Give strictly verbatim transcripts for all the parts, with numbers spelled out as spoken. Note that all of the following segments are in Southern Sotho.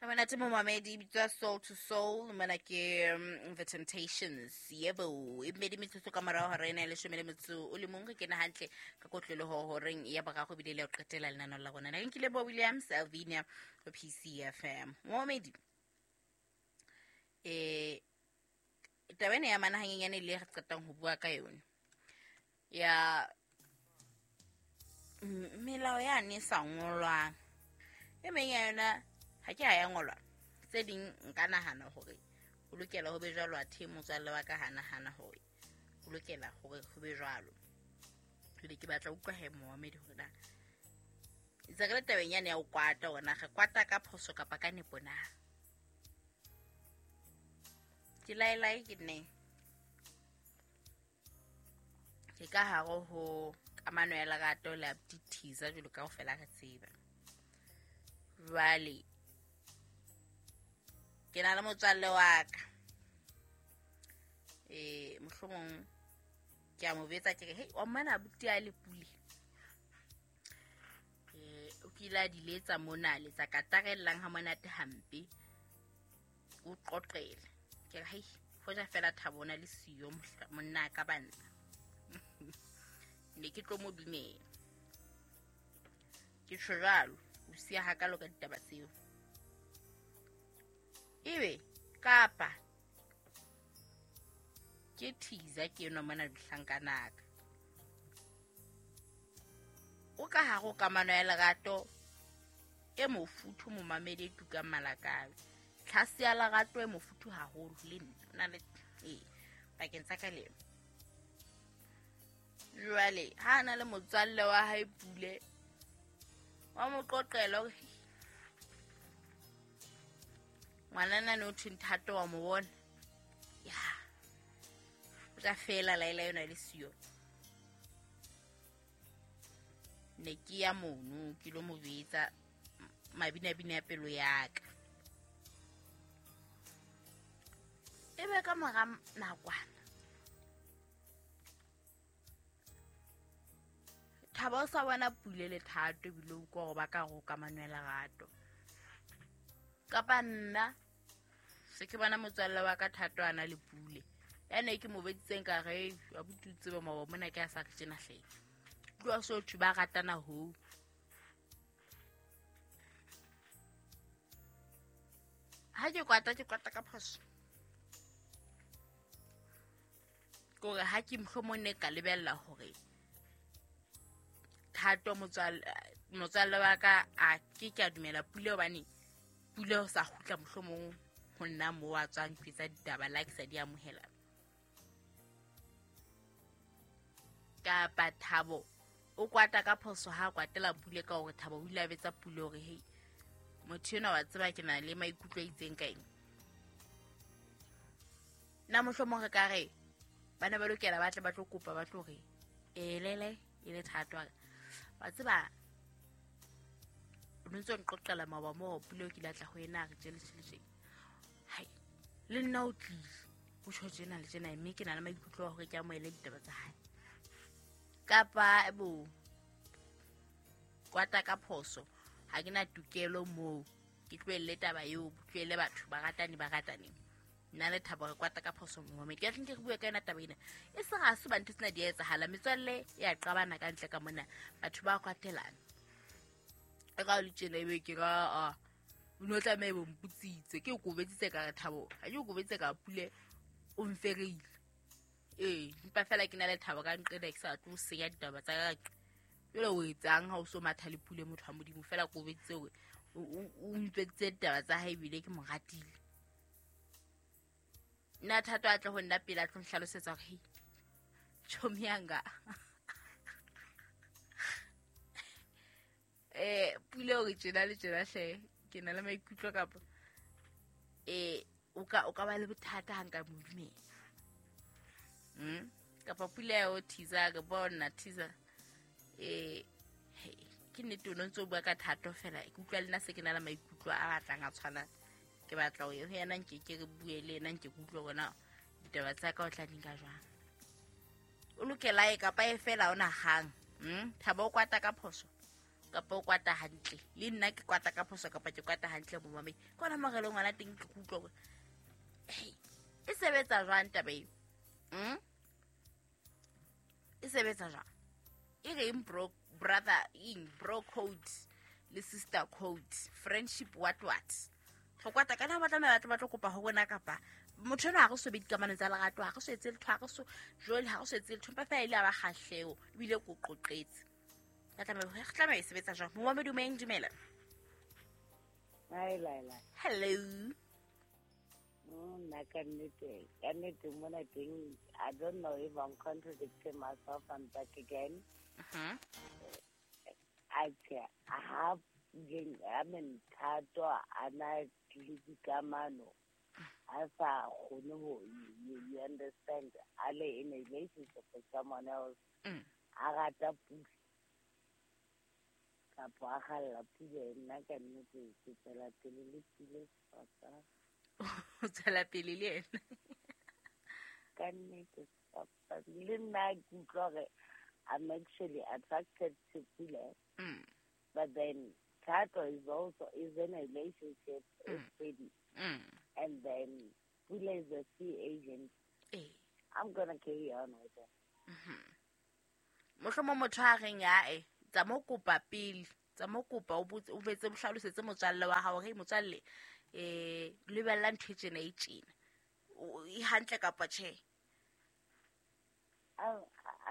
Monate momamedi bitswa Soul to Soul mona ke um, The Temptations. Yebo, e mmedi metsotso ka morao hora ena ya leshome le metso o le mong. Re kena hantle ka kotloloho horeng ya boraro ebile le ho qetela lenaneo la rona. Na ke nkile bo Williams Alvinia ho P C F M. Momamedi, eh taba ena ya mana hanyenyane le re qetang ho bua ka yona ya melao yane e sa ngolwang, e meng ya yona ha ke ha ya ngolwa, tse ding nka nahana hore o lokela ho be jwalo, athe motswalle wa ka ha nahana hore o lokela hore ho be jwalo. Jwale ke batla utlwa he momamedi hore na ntse re le tabeng yane ya ho kwata, hore na re kwata ka phoso kapa ka nepo na. Ke laelae ke nne ke ka hare ho kamano ya lerato le abuti Thiza jwalo ka kaofela re tseba. Jwale ke na le motswalle wa ka, eh mohlomong ke a mo betsa ke re, hei wa mmana abuti a le Pule, eh o kile a di letsa mona, letsa katarellang ha monate hampe, o qoqele. Ke re, hei hoja fela Thabo ona le siyo monna ka banna, ne ke tlo mo dumela. Ke tjho jwalo, o siya hakalo ka ditaba tseo. Ebe kapa ke Thiza ke enwa mona dihlankanaka, o ka hare ho kamano ya lerato e mofuthu momamedi e tukang malakabe, tlhase ya lerato e mofuthu haholo le nna o na le ee pakeng tsa ka le yena. Jwale ha a na le motswalle wa hae Pule, wa mo qoqela hore ngwanana ne o thwe Nthato wa mo bona, ya o tla fela laela yona le siyo. Ne ke ya mono ke lo mo betsa mabinabina ya pelo ya ka. Ebe ka mora nakwana Thabo o sa bona Pule le Thato ebile o utlwa hore ba ka hare ho kamano ya lerato. Kapa nna se ke bona motswalle wa ka Thato a na le Pule, ya ne ke mo beditseng ka re abuti o tsebe maoba mona ke a sa re tjena hle, tloha so thwe ba ratana hoo. Ha ke kwata ke kwata ka phoso, kore ha ke mohlomong ne ka lebella hore Thato motswalle motswalle wa ka a ke ke a dumela Pule, hobane Pule o sa kgutla mohlomong ho nna moo a tswang tsa ditaba la ke sa di amohela. Kapa Thabo o kwata ka phoso ha kwatela Pule ka hore Thabo o ile a betsa Pule hore hei motho enwa wa tseba ke na le maikutlo a itseng ka eng. Nna mohlomong re ka re bana ba lokela ba tle ba tlo kopa ba tlo re elele e le Thato wa tseba o ntse o nqoqela maoba moo Pule o kile a tla ho yena a re tjele tjele tjele, hai le nna o tlile o tjho tjena le tjena, mme ke na le maikutlo a hore ke amohele ditaba tsa hae. Kapa bo kwata ka phoso, ha ke na tokelo moo, ke tlohelle taba eo, tlohelle batho ba ratane ba ratane. Nna le Thabo re kwata ka phoso moo, ke tla nke re bue ka yona taba ena. E se ga se ba ntho tsena di a etsahala, metswalle e a qabana ka ntle ka mona, batho ba kwatelana. E ka le tjena ebe ke ra a o no tlameha bo mputsitse, ke o kobetsitse ka re Thabo, ha ke o kobetse ka Pule o mfereile. Ee, empa fela ke na le Thabo ka nqena ke sa tlo senya ditaba tsa ka. Jwale o etsang ha o so matha le Pule motho wa Modimo, fela kobetse hore o ntwetse ditaba tsa hae ebile ke mo ratile. Nna Thato a tle ho nna pele a tlo nhlalosetsa hore hei chomi yanga eh Pule o re tjena le tjena hle ke na le maikutlo kapa eh o ka o ka ba le bothata ha nka mo dumela. Mm kapa Pule o Thiza ke bona Thiza eh ke nnete o ntse o bua ka Thato fela ke utlwa le nna se ke na le maikutlo a batlang a tshwana, ke batla ho ye ho yena nke ke re bue le yena nke ke utlwe hore ditaba tsa ka o tla di nka jwang. O lokela e kapa e fela ona hang. Mm Thabo o kwata ka phoso kapa o kwata hantle le nna ke kwata ka phoso kapa ke kwata hantle momamedi ke ona mo re leng ngwana teng ke utlwa hore hey e sebetsa jwang taba eo mm e sebetsa jwang e reng bro brother in bro code le sister code friendship what what go kwata kana ba tlameha ba tla ba tlo kopa ho bona kapa motho ena ha re so be dikamano tsa lerato ha re so etse letho ha re so jole ha re so etse letho empa fela ile a ba kgahleho ebile ko qoqetse ba tlameha re tlameha e sebetsa jwang momamedi dumeng dumela. Hi Laila. Hello. Nna ka nnete ka nnete mona teng I don't know if I'm contradicting myself. I'm back again. Uh-huh. I have I mean Thato a na le dikamano a sa kgone ho you, you understand a le in a relationship with someone else Mm. a rata Pule kapa a kgalla Pule nna ka nnete ke tswela pele le Pule papa o tswela pele le yena ka nnete papa le nna ke utlwa hore I'm actually attracted to Pule Mm. but then Thato is also is in a relationship with Freddy Mm. and then Pule is a free agent. Eh. I'm gonna carry on with it. Mohlomong motho a reng ae tsa mo kopa pele tsa mo kopa o botse o betse bohlalosetse motswalle wa hao hore motswalle eh lebella ntho e tjena e tjena O- e hantle kapa tjhe. I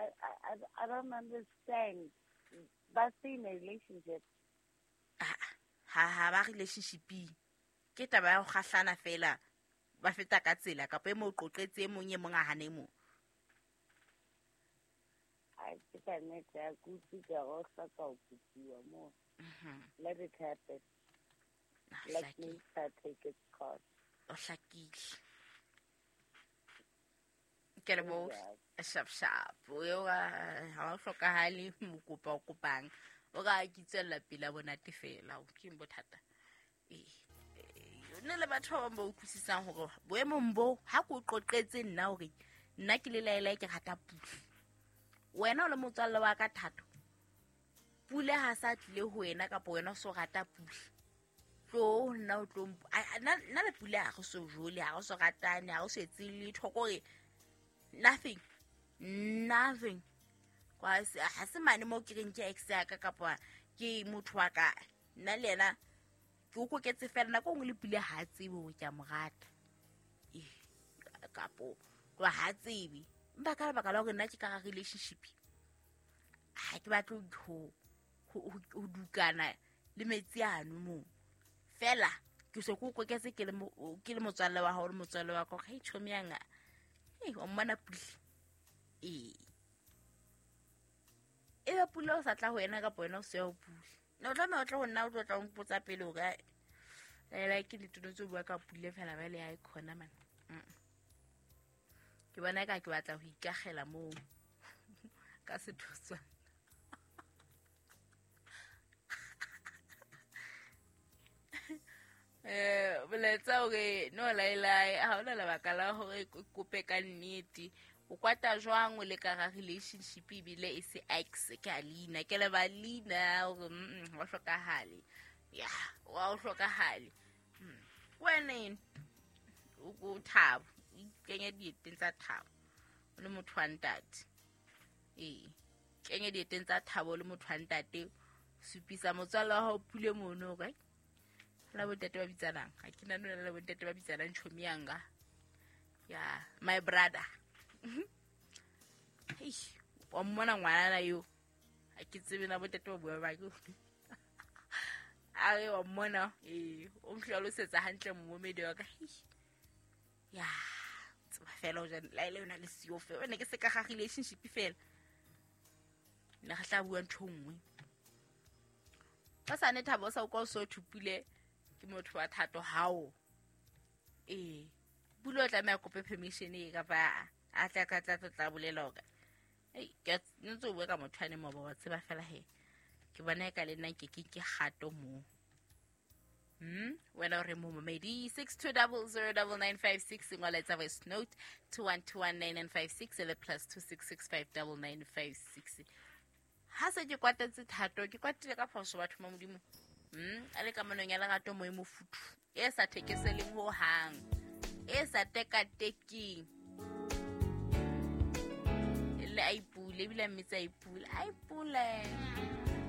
I I I, I don't understand. But in a relationship, Ah, ha ha ba relationshiping ke taba ya ho kgahlana fela ba feta ka tsela kapa e mo qoqetse e mong e mong a hane e mong. I think I need to go to the hloka ho kopiwa mo. Let it happen. Ah, Let hlakile. nature take its course. O hlakile ke leboha Yeah. sharp sharp o ha o hlokahale mokopa o kopang o ka ke tswella pele a bonate fela o ke eng bothata ee nne le batho ba bang ba utlwisisang hore boemong bo ha ke o qoqetse nna hore nna ke le Laela ke rata Pule wena o le motswalle wa ka Thato Pule ha sa tlile ho wena kapa wena o so rata Pule tlo nna o tlo mp- a- a- nna nna le Pule ha re so jole ha re so ratane ha re so etse letho kore nothing nothing kwa se ha se mane mo ke reng ke ex ya ka kapa ke motho wa ka nna le yena ke o koketse fela nako e nngwe le Pule ha a tsebe hore ke a mo rata ee kapo tloha ha tsebe empa ka lebaka la hore nna ke ka hara relationship ha ke batle ho ho ho ho dukana le metsi ano moo fela ke so ke o koketse ke le mo- ke le motswalle wa hao le motswalle wa ka hore hei tjhomi yanga hei wa mmona Pule ee ebe Pule o sa tla ho wena kapa wena o se ya ho Pule ne o tlameha o tle ho nna o tlo tla o mpotsa pele hore Laela ke nnete o ntso bua ka Pule fela ba le ha e khona man. Mm. Ke bona eka ke batla ho ikakgela moo ka sethotswana. Eh boletsa hore no Laela ha hona lebaka la hore ke kope ka nnete o kwata jwang o le ka hara relationship ebile e se ex ke a leina ke leba leina hore mm ha o hlokahale ya wa o hlokahale Mm. Wena eno o o Thabo o ikenye dieteng tsa Thabo o le motho wa ntate ee kenye dieteng tsa Thabo o le motho wa ntate supisa motswalle wa hao Pule mono hore ai, la bontate ba bitsanang ha ke nahane ho na le bontate ba bitsanang tjhomi yanga ya my brother hei wa mmona ngwanana eo ha ke tsebe na bontate ba bua ba ke a re wa mmona ee o nhlalosetsa hantle momedi wa ka hei ya tseba fela o jane la ile yona le siyo fela ne ke se ka ga relationship fela ne re tla bua ntho e nngwe ka sane Thabo o sa utlwa o so thupile ke motho wa Thato hao ee Pule o tlameha kope permission e kapa a tla ka tla tla bolela hore ei ke a- ntse o bua ka motho ane moba wa tseba fela he ke bona eka le nna nke ke ke kgato moo Hmm? Wena o re momamedi six two double zero double nine five six ngola etsa voice note two one two one nine nine five six le plus two six six five double nine five six. Ha se ke kwatetse Thato, ke kwatile ka phoso batho ba Modimo. Mm, a le kamanong ya lerato mo e mofuthu, e sa thekeseleng ho hang, e sa tekatekeng. Le a ipule, ebile a mmitsa a ipule, a ipule.